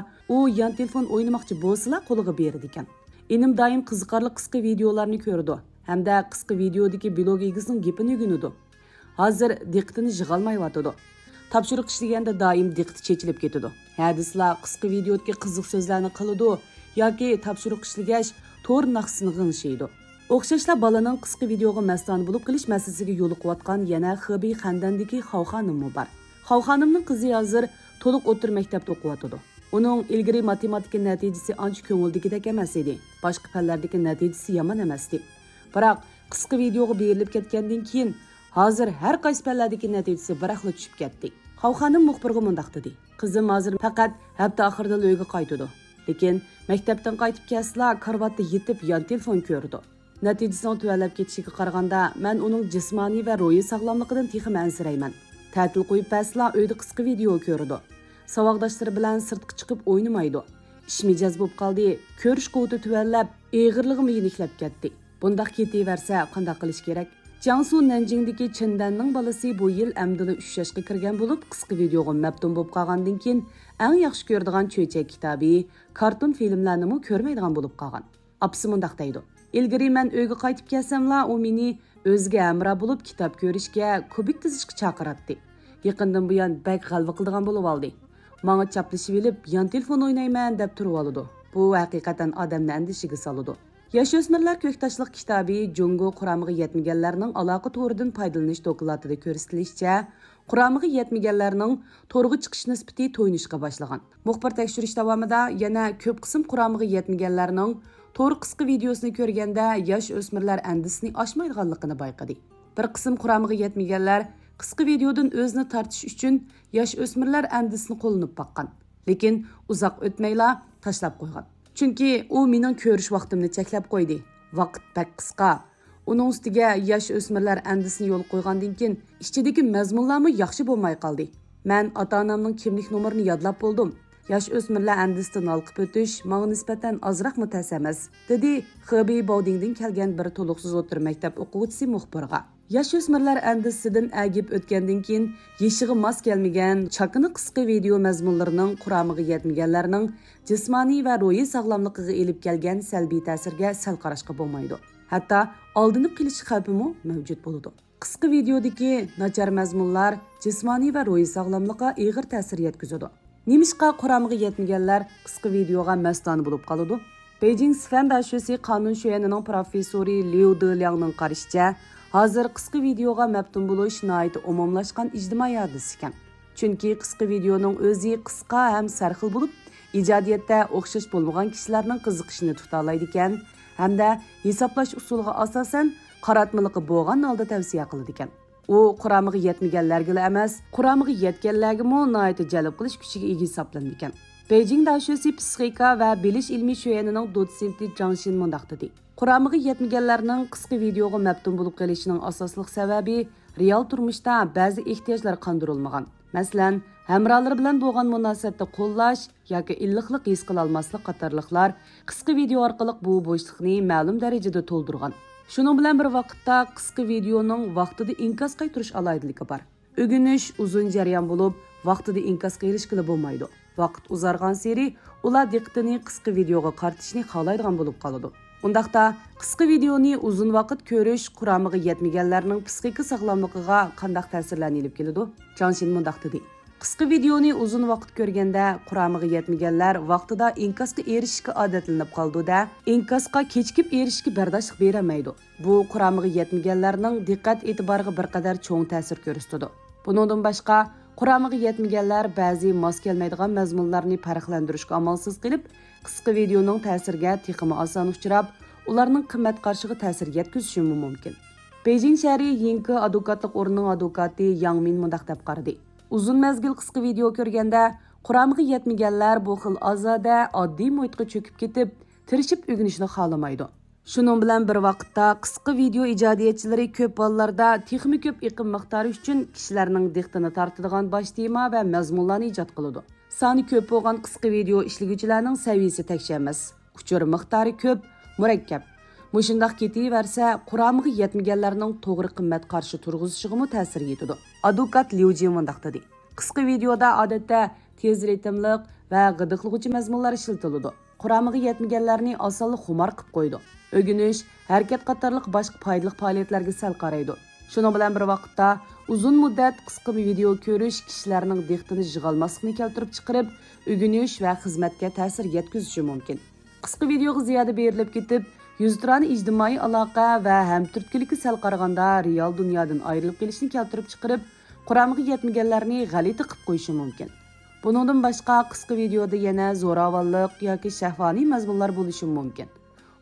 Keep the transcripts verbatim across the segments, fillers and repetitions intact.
ئۇ يان تېلېفون ئوينىماقچى بولسىلا قولىغا بېرىدىكەن. ئىنىم دائىم قىزىقارلىق قىسقا ۋىدېئولارنى كۆرىدۇ ھەمدە قىسقا ۋىدېئودىكى بىلوگ ئىگىسىنىڭ گېپىنى ئۆگىنىدۇ. ھازىر دىققىتىنى يىغالمايۋاتىدۇ. تاپشۇرۇق ئىشلىگەندە دائىم دىققىتى چېچىلىپ كېتىدۇ. ھە دېسىلا قىسقا ۋىدېئودىكى قىزىق سۆزلەرنى قىلىدۇ ياكى تاپشۇرۇق ئىشلىگەچ تور ناخشىسىنى غىڭشىيدۇ. ئوخشاشلا بالىنىڭ قىسقا ۋىدېئوغا مەستانە بولۇپ قېلىش مەسىلىسىگە يولۇقۇۋاتقان يەنە خېبېي خەندەندىكى خاۋ خانىممۇ بار. خاۋ خانىمنىڭ قىزى ھازىر تولۇق ئوتتۇرا مەكتەپتە ئوقۇۋاتىدۇ. ئۇنىڭ ئىلگىرى ماتېماتىكا نەتىجىسى ئانچە كۆڭۈلدىكىدەك ئەمەس ئىدى. باشقا پەنلەردىكى نەتىجىسى يامان ئەمەستى. بىراق قىسقا ۋىدېئوغا بېرىلىپ كەتكەندىن كېيىن ھازىر ھەر قايسى پەنلەردىكى نەتىجىسى بىراقلا چۈشۈپ كەتتى. خاۋ خانىم مۇخبىرغا مۇنداق دېدى، قىزىم ھازىر پەقەت ھەپتە ئاخىرىدىلا ئۆيگە قايتىدۇ. لېكىن مەكتەپتىن قايتىپ كەلسىلا كارىۋاتتا يېتىپ يان تېلېفون كۆرىدۇ. نەتىجىسىنىڭ تۆۋەنلەپ كېتىشىگە قارىغاندا، مەن ئۇنىڭ جىسمانىي ۋە روھىي ساغلاملىقىدىن تېخىمۇ ئەنسىرەيمەن. تەتىل قويۇپ بەرسىلا ئۆيدە قىسقا ۋىدېئو كۆرىدۇ. ساۋاقداشلىرى بىلەن سىرتقا چىقىپ ئوينىمايدۇ. ئىش مىجەز بولۇپ قالدى، كۆرۈش قۇۋۋىتى تۆۋەنلەپ، ئېغىرلىقىمۇ يېنىكلەپ كەتتى. بۇنداق كېتىۋەرسە قانداق قىلىش كېرەك؟ جياڭسۇ نەنجىڭدىكى چىن دەننىڭ بالىسى بۇ يىل ئەمدىلا ئۈچ ياشقا كىرگەن بولۇپ، قىسقا ۋىدېئوغا مەپتۇن بولۇپ قالغاندىن كېيىن، ئەڭ ياخشى كۆرىدىغان چۆچەك كىتابى، كارتون فىلىملەرنىمۇ كۆرمەيدىغان بولۇپ قالغان. ئاپىسى مۇنداق دەيدۇ، ئىلگىرى مەن ئۆيگە قايتىپ كەلسەملا، ئۇ مېنى ئۆزىگە ھەمراھ بولۇپ كىتاب كۆرۈشكە، كۇبىك تىزىشقا چاقىراتتى. يېقىندىن بۇيان بەك غەلۋە قىلىدىغان بولۇۋالدى. ماڭا چاپلىشىۋېلىپ، يان تېلېفون ئوينايمەن دەپ تۇرۇۋالىدۇ. بۇ ھەقىقەتەن ئادەمنى ئەندىشىگە سالىدۇ. ياش ئۆسمۈرلەر كۆكتاشلىق كىتابى جۇڭگو قۇرامىغا يەتمىگەنلەرنىڭ ئالاقە تورىدىن پايدىلىنىش دوكلاتىدا كۆرسىتىلىشىچە، قۇرامىغا يەتمىگەنلەرنىڭ تورغا چىقىش نىسبىتى تويۇنۇشقا باشلىغان. مۇخبىر تەكشۈرۈش داۋامىدا يەنە كۆپ قىسىم قۇرامىغا يەتمىگەنلەرنىڭ تور قىسقا ۋىدېئوسىنى كۆرگەندە ياش ئۆسمۈرلەر ئەندىزىسىنى ئاشمايدىغانلىقىنى بايقىدى. بىر قىسىم قۇرامىغا يەتمىگەنلەر قىسقا ۋىدېئودىن ئۆزىنى تارتىش ئۈچۈن ياش ئۆسمۈرلەر ئەندىزىسىنى قوللىنىپ باققان. لېكىن ئۇزاق ئۆتمەيلا تاشلاپ قويغان. چۈنكى ئۇ مېنىڭ كۆرۈش ۋاقتىمنى چەكلەپ قويدى. ۋاقىت بەك قىسقا. ئۇنىڭ ئۈستىگە ياش ئۆسمۈرلەر ئەندىزىسىنى يولغا قويغاندىن كېيىن، ئىچىدىكى مەزمۇنلارمۇ ياخشى بولماي قالدى. مەن ئاتا-ئانامنىڭ كىملىك نومۇرىنى يادلاپ بولدۇم. ياش ئۆسمۈرلەر ئەندىزىسىدىن ھالقىپ ئۆتۈش ماڭا نىسبەتەن ئازراقمۇ تەس ئەمەس، دېدى خېبېي باۋدىڭدىن كەلگەن بىر تولۇقسىز ئوتتۇرا مەكتەپ ئوقۇغۇچىسى مۇخبىرغا. ياش ئۆسمۈرلەر ئەندىزىسىدىن ئەگىپ ئۆتكەندىن كېيىن، يېشىغا ماس كەلمىگەن چاكىنا قىسقا ۋىدېئو مەزمۇنلىرىنىڭ قۇرامىغا يەتمىگەنلەرنىڭ جىسمانىي ۋە روھىي ساغلاملىقىغا ئېلىپ كەلگەن سەلبىي تەسىرگە سەل قاراشقا بولمايدۇ. ھەتتا ئالدىنىپ قېلىش خەۋپىمۇ مەۋجۇت بولىدۇ. قىسقا ۋىدېئودىكى ناچار مەزمۇنلار جىسمانىي ۋە روھىي ساغلاملىققا ئېغىر تەسىر يەتكۈزىدۇ. نېمىشقا قۇرامىغا يەتمىگەنلەر قىسقا ۋىدېئوغا مەستانە بولۇپ قالىدۇ؟ بېيجىڭ سىفەن داشۆسى قانۇن شۆيۈەنىنىڭ پروفېسسورى ليۇ دېلياڭنىڭ قارىشىچە، ھازىر قىسقا ۋىدېئوغا مەپتۇن بولۇش ناھايىتى ئومۇملاشقان ئىجتىمائىي ھادىسە ئىكەن. چۈنكى قىسقا ۋىدېئونىڭ ئۆزى قىسقا ھەم سەرخىل بولۇپ، ئىجادىيەتتە ئوخشاش بولمىغان كىشىلەرنىڭ قىزىقىشىنى تۇتالايدىكەن ھەمدە ھېسابلاش ئۇسۇلىغا ئاساسەن قاراتمىلىقى بولغان ھالدا تەۋسىيە قىلىدىكەن. ئۇ قۇرامىغا يەتمىگەنلەرگىلا ئەمەس، قۇرامىغا يەتكەنلەرگىمۇ ناھايىتى جەلپ قىلىش كۈچىگە ئىگە ھېسابلىنىدىكەن. بېيجىڭ داشۆسى پسىخىكا ۋە بىلىش ئىلمىي شۆيۈەنىنىڭ دوتسېنتى جاڭ شىن مۇنداق دېدى، قۇرامىغا يەتمىگەنلەرنىڭ قىسقا ۋىدېئوغا مەپتۇن بولۇپ قېلىشىنىڭ ئاساسلىق سەۋەبى رېئال تۇرمۇشتا بەزى ئېھتىياجلار قاندۇرۇلمىغان. مەسىلەن، ھەمراھلىرى بىلەن بولغان مۇناسىۋەتنى قوللاش ياكى ئىللىقلىق ھېس قىلالماسلىق قاتارلىقلار قىسقا ۋىدېئو ئارقىلىق بۇ بوشلۇقنى مەلۇم دەرىجىدە تولدۇرغان. شۇنىڭ بىلەن بىر ۋاقىتتا، قىسقا ۋىدېئونىڭ ۋاقتىدا ئىنكاس قايتۇرۇش ئالاھىدىلىكى بار. ئۆگىنىش ئۇزۇن جەريان بولۇپ، ۋاقتىدا ئىنكاسقا ئېرىشكىلى بولمايدۇ. ۋاقىت ئۇزارغانسېرى، ئۇلار دىققىتىنى قىسقا ۋىدېئوغا قارىتىشنى خالايدىغان بولۇپ قالىدۇ. ئۇنداقتا، قىسقا ۋىدېئونى ئۇزۇن ۋاقىت كۆرۈش قۇرامىغا يەتمىگەنلەرنىڭ پسىخىكا ساغلاملىقىغا قانداق تەسىرلەرنى ئېلىپ كېلىدۇ؟ جاڭ شىن مۇنداق دېدى، قىسقا ۋىدېئونى ئۇزۇن ۋاقىت كۆرگەندە، قۇرامىغا يەتمىگەنلەر ۋاقتىدا ئىنكاسقا ئېرىشىشكە ئادەتلىنىپ قالىدۇ-دە، ئىنكاسقا كېچىكىپ ئېرىشىشكە بەرداشلىق بېرەلمەيدۇ. بۇ قۇرامىغا يەتمىگەنلەرنىڭ دىققەت ئېتىبارىغا بىر قەدەر چوڭ تەسىر كۆرسىتىدۇ. بۇنىڭدىن باشقا، قۇرامىغا يەتمىگەنلەر بەزى ماس كەلمەيدىغان مەزمۇنلارنى پەرقلەندۈرۈشكە ئامالسىز قېلىپ، قىسقا ۋىدېئونىڭ تەسىرىگە تېخىمۇ ئاسان ئۇچراپ، ئۇلارنىڭ قىممەت قارىشىغا تەسىر يەتكۈزۈشىمۇ مۇمكىن. بېيجىڭ شەھىرى يىڭكې ئادۋوكاتلىق ئورنىنىڭ ئادۋوكاتى ياڭ مىن مۇنداق دەپ قارىدى، ئۇزۇن مەزگىل قىسقا ۋىدېئو كۆرگەندە، قۇرامىغا يەتمىگەنلەر بۇ خىل ئازادە، ئاددىي مۇھىتقا چۆكۈپ كېتىپ، تىرىشىپ ئۆگىنىشنى خالىمايدۇ. شۇنىڭ بىلەن بىر ۋاقىتتا، قىسقا ۋىدېئو ئىجادىيەتچىلىرى كۆپ ھاللاردا تېخىمۇ كۆپ ئېقىم مىقدارى ئۈچۈن كىشىلەرنىڭ دىققىتىنى تارتىدىغان باش تېما ۋە مەزمۇنلارنى ئىجاد قىلىدۇ. سانى كۆپ بولغان قىسقا ۋىدېئو ئىشلىگۈچىلەرنىڭ سەۋىيىسى تەكشى ئەمەس، ئۇچۇر مىقدارى كۆپ، مۇرەككەپ. مۇشۇنداق كېتىۋەرسە، قۇرامىغا يەتمىگەنلەرنىڭ توغرا قىممەت قارىشى تۇرغۇزۇشىغىمۇ تەسىر يېتىدۇ. ئادۋوكات ليۇ جى مۇنداق دېدى، قىسقا ۋىدېئودا ئادەتتە تېز رىتىملىق، ۋە غىدىقلىغۇچى مەزمۇنلار ئىشلىتىلىدۇ. قۇرامىغا يەتمىگەنلەرنى ئاسانلا خۇمار قىلىپ قويىدۇ. ئۆگىنىش، ھەرىكەت قاتارلىق باشقا پايدىلىق پائالىيەتلەرگە سەل قارايدۇ. شۇنىڭ بىلەن بىر ۋاقىتتا، ئۇزۇن مۇددەت قىسقا ۋىدېئو كۆرۈش كىشىلەرنىڭ دىققىتىنى يىغالماسلىقنى كەلتۈرۈپ چىقىرىپ، ئۆگىنىش ۋە خىزمەتكە تەسىر يەتكۈزۈشى مۇمكىن. قىسقا ۋىدېئوغا زىيادە بېرىلىپ كېتىپ، يۈزتۇرانە ئىجتىمائىي ئالاقە ۋە ھەمتۈرتكىلىككە سەل قارىغاندا رېئال دۇنيادىن ئايرىلىپ قېلىشنى كەلتۈرۈپ چىقىرىپ، قۇرامىغا يەتمىگەنلەرنى غەلىتە قىلىپ قويۇشى مۇمكىن. بۇنىڭدىن باشقا، قىسقا ۋىدېئودا يەنە زوراۋانلىق ياكى شەھۋانىي مەزمۇنلار بولۇشى مۇمكىن.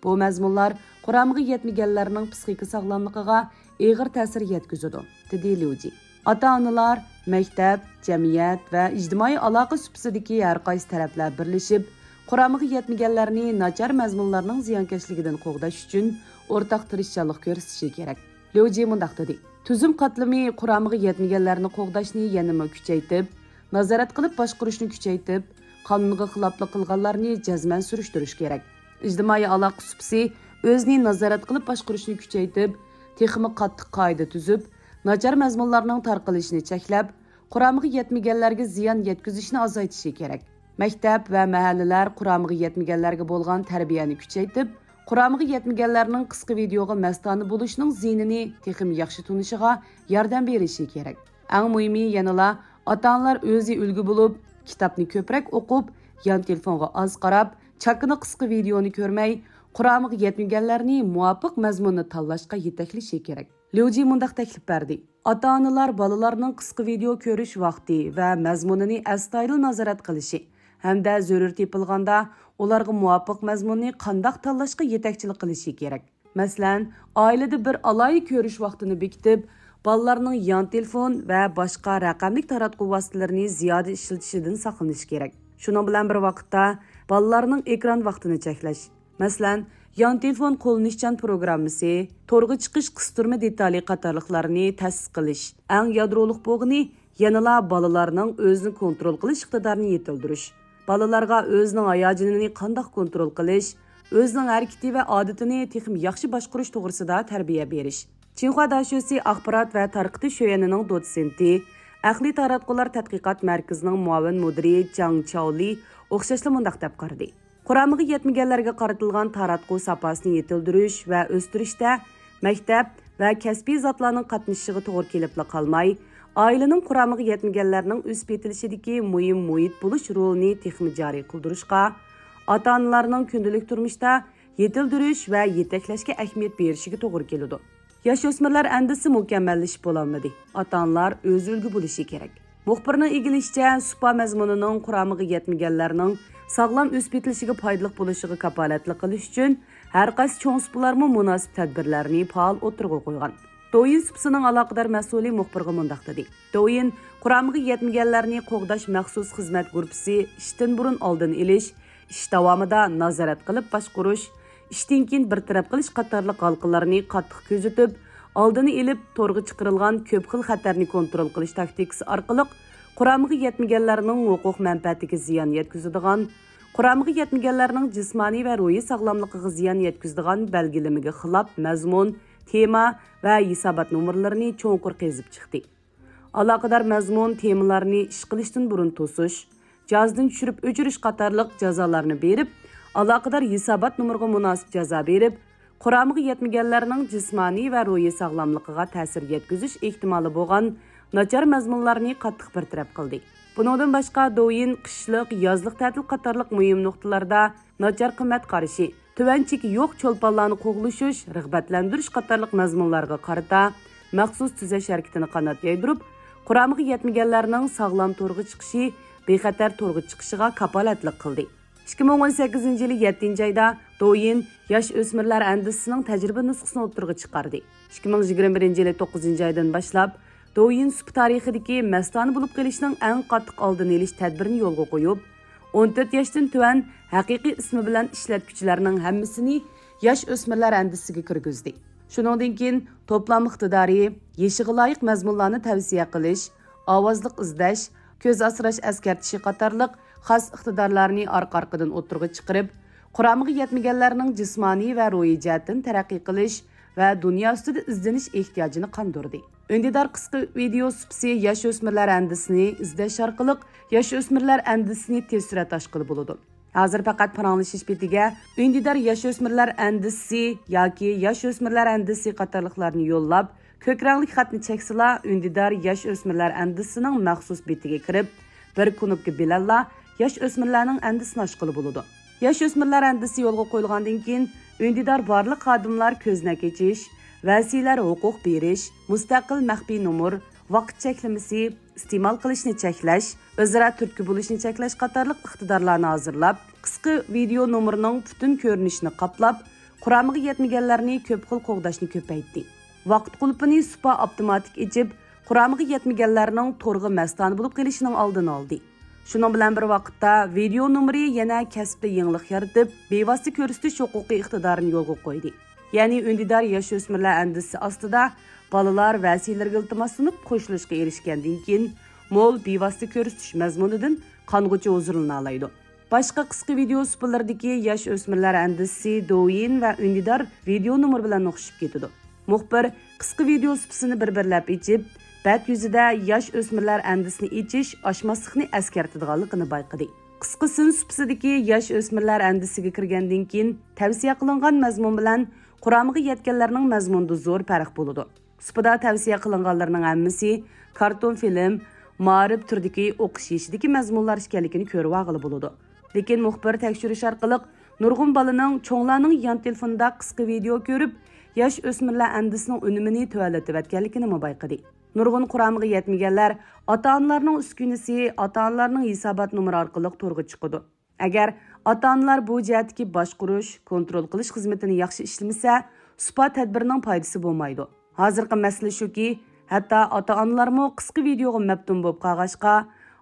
بۇ مەزمۇنلار قۇرامىغا يەتمىگەنلەرنىڭ پسىخىكا ساغلاملىقىغا ئېغىر تەسىر يەتكۈزىدۇ، دېدى ليۇجى. ئاتا-ئانىلار، مەكتەپ، جەمئىيەت ۋە ئىجتىمائىي ئالاقە سۇپىسىدىكى ھەر قايسى تەرەپلەر بىرلىشىپ، قۇرامىغا يەتمىگەنلەرنى ناچار مەزمۇنلارنىڭ زىيانكەشلىكىدىن قوغداش ئۈچۈن ئورتاق تىرىشچانلىق كۆرسىتىشى كېرەك. ليۇجى مۇنداق دېدى: تۈزۈم قاتلىمى قۇرامىغا يەتمىگەنلەرنى قوغداشنى يەنىمۇ كۈچەيتىپ، نازارەت قىلىپ باشقۇرۇشنى كۈچەيتىپ، قانۇنغا خىلاپلىق قىلغانلارنى جەزمەن سۈرۈشتۈرۈش كېرەك. ئىجتىمائىي ئالاقە سۇپىسى ئۆزىنى نازارەت قىلىپ باشقۇرۇشنى كۈچەيتىپ، تېخىمۇ قاتتىق قائىدە تۈزۈپ، ناچار مەزمۇنلارنىڭ تارقىلىشىنى چەكلەپ، قۇرامىغا يەتمىگەنلەرگە زىيان يەتكۈزۈشنى ئازايتىشى كېرەك. مەكتەپ ۋە مەھەللىلەر قۇرامىغا يەتمىگەنلەرگە بولغان تەربىيەنى كۈچەيتىپ، قۇرامىغا يەتمىگەنلەرنىڭ قىسقا ۋىدېئوغا مەستانە بولۇشنىڭ زىيىنىنى تېخىمۇ ياخشى تونۇشىغا ياردەم بېرىشى كېرەك. ئەڭ مۇھىمى يەنىلا ئاتا-ئانىلار ئۆزى ئۈلگە بولۇپ، كىتابنى كۆپرەك ئوقۇپ، يان تېلېفونغا ئاز قاراپ، چاكىنا قىسقا ۋىدېئونى كۆرمەي، قۇرامىغا يەتمىگەنلەرنى مۇۋاپىق مەزمۇننى تاللاشقا يېتەكلىشى كېرەك. ليۇجى مۇنداق تەكلىپ بەردى: ئاتا-ئانىلار بالىلارنىڭ قىسقا ۋىدېئو كۆرۈش ۋاقتى ۋە مەزمۇنىنى ئەستايىدىل نازارەت قىلىشى ھەمدە زۆرۈر تېپىلغاندا ئۇلارغا مۇۋاپىق مەزمۇننى قانداق تاللاشقا يېتەكچىلىك قىلىشى كېرەك. مەسىلەن، ئائىلىدە بىر ئالاھىدە كۆرۈش ۋاقتىنى بېكىتىپ، بالىلارنىڭ يان تېلېفون ۋە باشقا رەقەملىك تاراتقۇ ۋاسىتىلىرىنى زىيادە ئىشلىتىشىدىن ساقلىنىش كېرەك. شۇنىڭ بىلەن بىر ۋاقىتتا، بالىلارنىڭ ئېكران ۋاقتىنى چەكلەش، مەسىلەن، يان تېلېفون قوللىنىشچان پروگراممىسى، تورغا چىقىش قىستۇرما دېتالى قاتارلىقلارنى تەسىس قىلىش. ئەڭ يادرولۇق بولغىنى يەنىلا بالىلارنىڭ ئۆزىنى كونترول قىلىش ئىقتىدارىنى يېتىلدۈرۈش. بالىلارغا ئۆزىنىڭ ھاياجىنىنى قانداق كونترول قىلىش، ئۆزىنىڭ ھەرىكىتى ۋە ئادىتىنى تېخىمۇ ياخشى باشقۇرۇش توغرىسىدا تەربىيە بېرىش. چىنخۇا داشۆسى ئاخبارات ۋە تارقىتىش شۆيۈەنىنىڭ دوتسېنتى، ئەقلىي تاراتقۇلار تەتقىقات مەركىزىنىڭ مۇئاۋىن مۇدىرى جاڭ چاۋلى ئوخشاشلا مۇنداق دەپ قارىدى: قۇرامىغا يەتمىگەنلەرگە قارىتىلغان تاراتقۇ ساپاسىنى يېتىلدۈرۈش ۋە ئۆستۈرۈشتە مەكتەپ ۋە كەسپىي زاتلارنىڭ قاتنىشىشىغا توغرا كېلىپلا قالماي، ئائىلىنىڭ قۇرامىغا يەتمىگەنلەرنىڭ ئۆسۈپ يېتىلىشىدىكى مۇھىم مۇھىت بولۇش رولىنى تېخىمۇ جارى قىلدۇرۇشقا، ئاتا-ئانىلارنىڭ كۈندىلىك تۇرمۇشتا يېتىلدۈرۈش ۋە يېتەكلەشكە ئەھمىيەت بېرىشىگە توغرا كېلىدۇ. ياش ئۆسمۈرلەر ئەندىزىسى مۇكەممەللىشىپ بولالمىدى. ئاتا-ئانىلار ئۆزى ئۈلگە بولۇشى كېرەك. مۇخبىرنىڭ ئىگىلىشىچە، سۇپا مەزمۇنىنىڭ قۇرامىغا يەتمىگەنلەرنىڭ ساغلام ئۆسۈپ يېتىلىشىگە پايدىلىق بولۇشىغا كاپالەتلىك قىلىش ئۈچۈن، ھەر قايسى چوڭ سۇپىلارمۇ مۇناسىپ تەدبىرلەرنى پائال ئوتتۇرىغا قويغان. دوۋيىن سۇپىسىنىڭ ئالاقىدار مەسئۇلى مۇخبىرغا مۇنداق دېدى: دوۋيىن قۇرامىغا يەتمىگەنلەرنى قوغداش مەخسۇس خىزمەت گۇرۇپپىسى ئىشتىن بۇرۇن ئالدىنى ئېلىش، ئىش داۋامىدا نازارەت قىلىپ باشقۇرۇش، ئىشتىن كېيىن بىر تەرەپ قىلىش قاتارلىق ھالقىلارنى قاتتىق كۆزىتىپ، ئالدىنى ئېلىپ، تورغا چىقىرىلغان كۆپ خىل خەتەرنى كونترول قىلىش تاكتىكىسى ئارقىلىق قۇرامىغا يەتمىگەنلەرنىڭ ھوقۇق مەنپەئەتىگە زىيان يەتكۈزىدىغان، قۇرامىغا يەتمىگەنلەرنىڭ جىسمانىي ۋە روھىي ساغلاملىقىغا زىيان يەتكۈزىدىغان بەلگىلىمىگە خىلاپ مەزمۇن، تېما ۋە ھېسابات نومۇرلىرىنى چوڭقۇر قېزىپ چىقتى. ئالاقىدار مەزمۇن، تېمىلارنى ئىش قىلىشتىن بۇرۇن توسۇش، جازدىن چۈشۈرۈپ ئۆچۈرۈش قاتارلىق جازالارنى بېرىپ، ئالاقىدار ھېسابات نومۇرىغا مۇناسىپ جازا بېرىپ، قۇرامىغا يەتمىگەنلەرنىڭ جىسمانىي ۋە روھىي ساغلاملىقىغا تەسىر يەتكۈزۈش ئېھتىمالى بولغان ناچار مەزمۇنلارنى قاتتىق بىر تەرەپ قىلدى. بۇنىڭدىن باشقا، دوۋيىن قىشلىق، يازلىق تەتىل قاتارلىق مۇھىم نۇقتىلاردا ناچار قىممەت قارىشى، تۆۋەن چېكى يوق چولپانلارنى قوغلىشىش، رىغبەتلەندۈرۈش قاتارلىق مەزمۇنلارغا قارىتا مەخسۇس تۈزەش ھەرىكىتىنى قانات يايدۇرۇپ، قۇرامىغا يەتمىگەنلەرنىڭ ساغلام تورغا چىقىشى، بىخەتەر تورغا چىقىشىغا كاپالەتلىك قىلدى. ئىككى مىڭ ئون سەككىزىنچى يىلى يەتتىنچى ئايدا دوۋيىن ياش ئۆسمۈرلەر ئەندىزىسىنىڭ تەجرىبە نۇسخىسىنى ئوتتۇرىغا چىقاردى. ئىككى مىڭ يىگىرمە بىرىنچى يىلى توققۇزىنچى ئايدىن باشلاپ، دوۋيىن سۇپا تارىخىدىكى مەستانە بولۇپ قېلىشنىڭ ئەڭ قاتتىق ئالدىنى ئېلىش تەدبىرىنى يولغا قويۇپ، ئون تۆت ياشتىن تۆۋەن ھەقىقىي ئىسمى بىلەن ئىشلەتكۈچىلەرنىڭ ھەممىسىنى ياش ئۆسمۈرلەر ئەندىزىسىگە كىرگۈزدى. شۇنىڭدىن كېيىن توپلام ئىقتىدارى، يېشىغا لايىق مەزمۇنلارنى تەۋسىيە قىلىش، ئاۋازلىق ئىزدەش، كۆز ئاسراش ئەسكەرتىشى قاتارلىق خاس ئىقتىدارلارنى ئارقا-ئارقىدىن ئوتتۇرىغا چىقىرىپ، قۇرامىغا يەتمىگەنلەرنىڭ جىسمانىي ۋە روھىي جەھەتتىن تەرەققىي قىلىش ۋە دۇنيا ئۈستىدە ئىزدىنىش ئېھتىياجىنى قاندۇردى. ئۈندىدار قىسقا ۋىدېئو سۇپىسى ياش ئۆسمۈرلەر ئەندىزىسىنى ئىزدەش ئارقىلىق ياش ئۆسمۈرلەر ئەندىزىسىنى تېز سۈرئەتتە ئاچقىلى بولىدۇ. ھازىر پەقەت پاراڭلىشىش بېتىگە ئۈندىدار ياش ئۆسمۈرلەر ئەندىزىسى ياكى ياش ئۆسمۈرلەر ئەندىزىسى قاتارلىقلارنى يوللاپ، كۆك رەڭلىك خەتنى چەكسىلا، ئۈندىدار ياش ئۆسمۈرلەر ئەندىزىسىنىڭ مەخسۇس بېتىگە كىرىپ، بىر كۇنۇپكا بىلەنلا ياش ئۆسمۈرلەرنىڭ ئەندىزىسىنى ئاچقىلى بولىدۇ. ياش ئۆسمۈرلەر ئەندىزىسى يولغا قويۇلغاندىن كېيىن، ئۈندىدار بارلىق خادىملار كۆزنەك ئېچىش، ۋەسىيلەر ھوقۇق بېرىش، مۇستەقىل مەخپىي نومۇر، ۋاقىت چەكلىمىسى، ئىستېمال قىلىشنى چەكلەش، ئۆزئارا تۈرتكە بولۇشنى چەكلەش قاتارلىق ئىقتىدارلارنى ھازىرلاپ، قىسقا ۋىدېئو نومۇرىنىڭ پۈتۈن كۆرۈنۈشىنى قاپلاپ، قۇرامىغا يەتمىگەنلەرنى كۆپ خىل قوغداشنى كۆپەيتتى. ۋاقىت قۇلۇپىنى سۇپا ئاپتوماتىك ئېچىپ، قۇرامىغا يەتمىگەنلەرنىڭ تورغا مەستانە بولۇپ قېلىشىنىڭ ئالدىنى ئالدى. شۇنىڭ بىلەن بىر ۋاقىتتا، ۋىدېئو نومۇرى يەنە كەسىپتە يېڭىلىق يارىتىپ، بىۋاسىتە كۆرسىتىش ھوقۇقى ئىقتىدارىنى يولغا قويدى. يەنى ئۈندىدار ياش ئۆسمۈرلەر ئەندىزىسى ئاستىدا بالىلار ۋەسىيلىرىگە ئىلتىماسلىنىپ قوشۇلۇشقا ئېرىشكەندىن كېيىن، مول بىۋاسىتە كۆرسىتىش مەزمۇنىدىن قانغۇچە ھۇزۇرلىنالايدۇ. باشقا قىسقا ۋىدېئو سۇپىلىرىدىكى ياش ئۆسمۈرلەر ئەندىزىسى دوۋيىن ۋە ئۈندىدار ۋىدېئو نومۇرى بىلەن ئوخشىشىپ كېتىدۇ. مۇخبىر قىسقا ۋىدېئو سۇپىسىنى بىر-بىرلەپ ئېچىپ، بەت يۈزىدە ياش ئۆسمۈرلەر ئەندىزىسىنى ئېچىش، ئاچماسلىقنى ئەسكەرتىدىغانلىقىنى بايقىدى. قىسقا سىن سۇپىسىدىكى ياش ئۆسمۈرلەر ئەندىزىسىگە كىرگەندىن كېيىن، تەۋسىيە قىلىنغان مەزمۇن بىلەن قۇرامىغا يەتكەنلەرنىڭ مەزمۇنىدا زور پەرق بولىدۇ. سۇپىدا تەۋسىيە قىلىنغانلىرىنىڭ ھەممىسى كارتون فىلىم، مائارىپ تۈرىدىكى ئوقۇش يېشىدىكى مەزمۇنلار ئىكەنلىكىنى كۆرۈۋالغىلى بولىدۇ. لېكىن مۇخبىر تەكشۈرۈش ئارقىلىق نۇرغۇن بالىنىڭ چوڭلارنىڭ يان تېلېفونىدا قىسقا ۋىدېئو كۆرۈپ، ياش ئۆسمۈرلەر ئەندىزىسىنىڭ ئۈنۈمىنى تۆۋەنلىتىۋەتكەنلىكىنىمۇ بايقىدى. نۇرغۇن قۇرامىغا يەتمىگەنلەر ئاتا-ئانىلارنىڭ ئۈسكۈنىسى، ئاتا-ئانىلارنىڭ ھېسابات نومۇرى ئارقىلىق تورغا چىقىدۇ. ئەگەر ئاتا-ئانىلار بۇ جەھەتتىكى باشقۇرۇش، كونترول قىلىش خىزمىتىنى ياخشى ئىشلىمىسە، سۇپا تەدبىرىنىڭ پايدىسى بولمايدۇ. ھازىرقى مەسىلە شۇكى، ھەتتا ئاتا-ئانىلارمۇ قىسقا ۋىدېئوغا مەپتۇن بولۇپ قالغاچقا،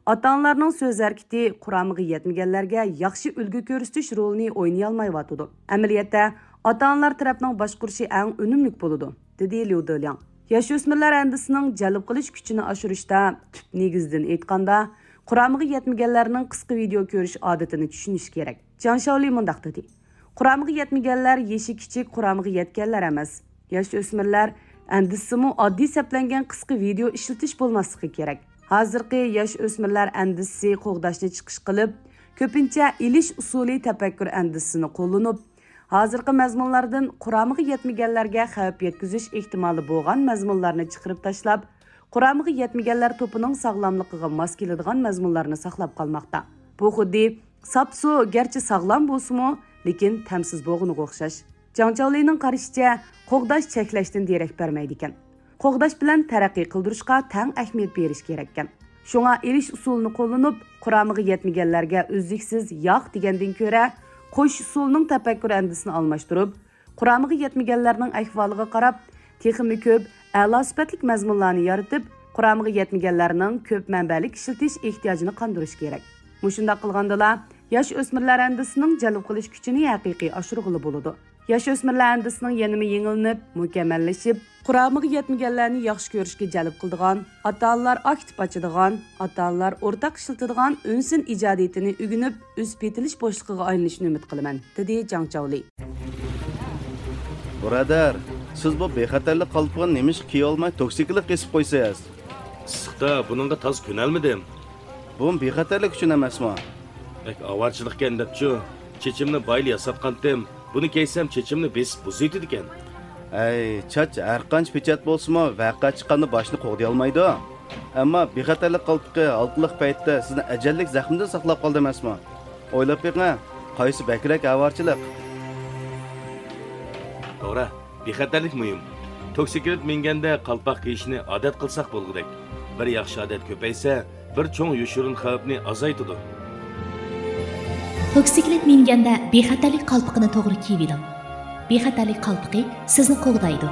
ئاتا-ئانىلارنىڭ سۆز ھەرىكىتى قۇرامىغا يەتمىگەنلەرگە ياخشى ئۈلگە كۆرسىتىش رولىنى ئوينىيالمايۋاتىدۇ. ئەمەلىيەتتە، ئاتا-ئانىلار تەرەپنىڭ باشقۇرۇشى ئەڭ ئۈنۈملۈك بولىدۇ، دېدى ليۇ دېلياڭ. ياش ئۆسمۈرلەر ئەندىزىسىنىڭ جەلپ قىلىش كۈچىنى ئاشۇرۇشتا تۈپ نېگىزدىن ئېيتقاندا، قۇرامىغا يەتمىگەنلەرنىڭ قىسقا ۋىدېئو كۆرۈش ئادىتىنى چۈشىنىشى كېرەك. جاڭ شاۋلى مۇنداق دېدى: قۇرامىغا يەتمىگەنلەر يېشى كىچىك قۇرامىغا يەتكەنلەر ئەمەس. ياش ئۆسمۈرلەر ئەندىزىسىمۇ ئاددىي سەپلەنگەن قىسقا ۋىدېئو ئىشلىتىش بولماسلىقى كېرەك. ھازىرقى ياش ئۆسمۈرلەر ئەندىزىسى قوغداشنى چىقىش قىلىپ، كۆپىنچە ئېلىش ئۇسۇلى تەپەككۇر ئەندىزىسىنى قوللىنىپ، ھازىرقى مەزمۇنلاردىن قۇرامىغا يەتمىگەنلەرگە خەۋپ يەتكۈزۈش ئېھتىمالى بولغان مەزمۇنلارنى چىقىرىپ تاشلاپ، قۇرامىغا يەتمىگەنلەر توپىنىڭ ساغلاملىقىغا ماس كېلىدىغان مەزمۇنلارنى ساقلاپ قالماقتا. بۇ خۇددى ساپسۇ گەرچە ساغلام بولسىمۇ، لېكىن تەمسىز بولغىنىغا ئوخشاش. جاڭ چاۋلىنىڭ قارىشىچە، قوغداش چەكلەشتىن دېرەك بەرمەيدىكەن. قوغداش بىلەن تەرەققىي قىلدۇرۇشقا تەڭ ئەھمىيەت بېرىش كېرەككەن. شۇڭا ئېلىش ئۇسۇلىنى قوللىنىپ، قۇرامىغا يەتمىگەنلەرگە ئۈزلۈكسىز ياق دېگەندىن كۆرە، قوشۇش ئۇسۇلىنىڭ تەپەككۇر ئەندىزىسىنى ئالماشتۇرۇپ، قۇرامىغا يەتمىگەنلەرنىڭ ئەھۋالىغا قاراپ، تېخىمۇ كۆپ ئەلا سۈپەتلىك مەزمۇنلارنى يارىتىپ، قۇرامىغا يەتمىگەنلەرنىڭ كۆپ مەنبەلىك ئىشلىتىش ئېھتىياجىنى قاندۇرۇش كېرەك. مۇشۇنداق قىلغاندىلا، ياش ئۆسمۈرلەر ئەندىزىسىنىڭ جەلپ قىلىش كۈچىنى ھەقىقىي ئاشۇرغىلى بولىدۇ. ياش ئۆسمۈرلەر ئەندىزىسىنىڭ يەنىمۇ يېڭىلىنىپ، مۇكەممەللىشىپ، قۇرامىغا يەتمىگەنلەرنى ياخشى كۆرۈشكە جەلپ قىلىدىغان، ئاتا-ئانىلار ئاكتىپ ئاچىدىغان، ئاتا-ئانىلار ئورتاق ئىشلىتىدىغان ئۈنسىن ئىجادىيىتىنى ئۆگىنىپ، ئۆسۈپ يېتىلىش بوشلۇقىغا ئايلىنىشىنى ئۈمىد قىلىمەن، دېدى جاڭ چاۋلى. بۇرادەر، سىز بۇ بىخەتەرلىك قالپىقىنى نېمىشقا كىيىۋالماي توكسىكلىت قېسىپ قويىسىز؟ ئىسسىقتا بۇنىڭغا تازا كۆنەلمىدىم. بۇمۇ بىخەتەرلىك ئۈچۈن ئەمەسمۇ؟ بەك ئاۋارىچىلىقكەن دەپچۇ، چېچىمنى بايىلا ياساتقانتىم. بۇنى كىيسەم چېچىمنى بېسىپ بۇزۇۋېتىدىكەن. ئەي، چاچ ھەرقانچە پېچەت بولسىمۇ، ۋەقە چىققاندا باشنى قوغدىيالمايدۇ. ئەمما بىخەتەرلىك قالپىقى ھالقىلىق پەيتتە سىزنى ئەجەللىك زەخمىدىن ساقلاپ قالدى ئەمەسمۇ؟ ئويلاپ بېقىڭ، قايسى بەكرەك ئاۋارىچىلىق؟ توغرا، بىخەتەرلىك مۇھىم. توكسىكلىت مىنگەندە قالپاق كىيىشنى ئادەت قىلساق بولغۇدەك. بىر ياخشى ئادەت كۆپەيسە، بىر چوڭ يوشۇرۇن خەۋپنى ئازايتىدۇ. توكسىكلىت مىنگەندە بىخەتەرلىك قالپىقىنى توغرا كىيىۋېلىڭ. بىخەتەرلىك قالپىقى سىزنى قوغدايدۇ.